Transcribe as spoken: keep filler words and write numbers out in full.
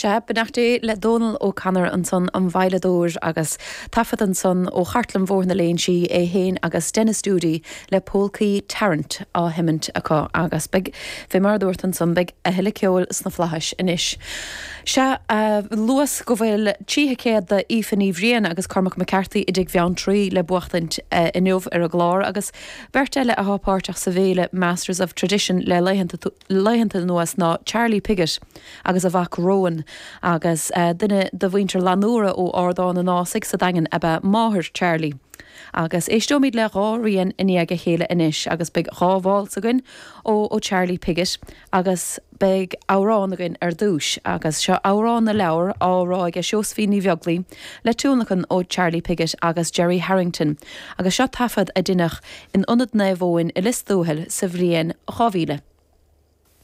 Sea, beannacht Dé le Dónal O'Connor ansan an veidhleadóir agus taifead ansan ó Chartlann Bhóthar na Léinsí é féin agus Denis Doody le Polcaí Tarrant á sheimint acu agus beidh fé mar dúirt ansan beidh a thuilleadh ceoil sna flaithis anois. Sea luas go bhfuil trí thicéad d'Aoife Ní Bhriain agus Cormac McCarthy i dTigh Bheanntraí le buachtaint inniu ar an gclár agus beirt eile atá páirteach sa bhféile Masters of Tradition le laethanta anuas ná Charlie Piggott agus a mhac Rowan agus uh, duine de mhuintir Lanúra ó Ardán an Ásaigh sa Daingean ab ea máthair Charlie. Agus éisteoimid le dhá rian i ndiaidh a chéile anois agus beidh dhá válsa againn ó ó Charlie Piggott agus beidh amhrán againn ar dtús agus seo amhrán na leabhar á rá ag Seosaimhín Ní Bheaglaoí le tionlacan ó Charlie Piggott agus Jerry Harrington agus seo taifead a deineadh in Ionad Naomh Eoin i Lios Tuathail sa bhliain dhá mhíle.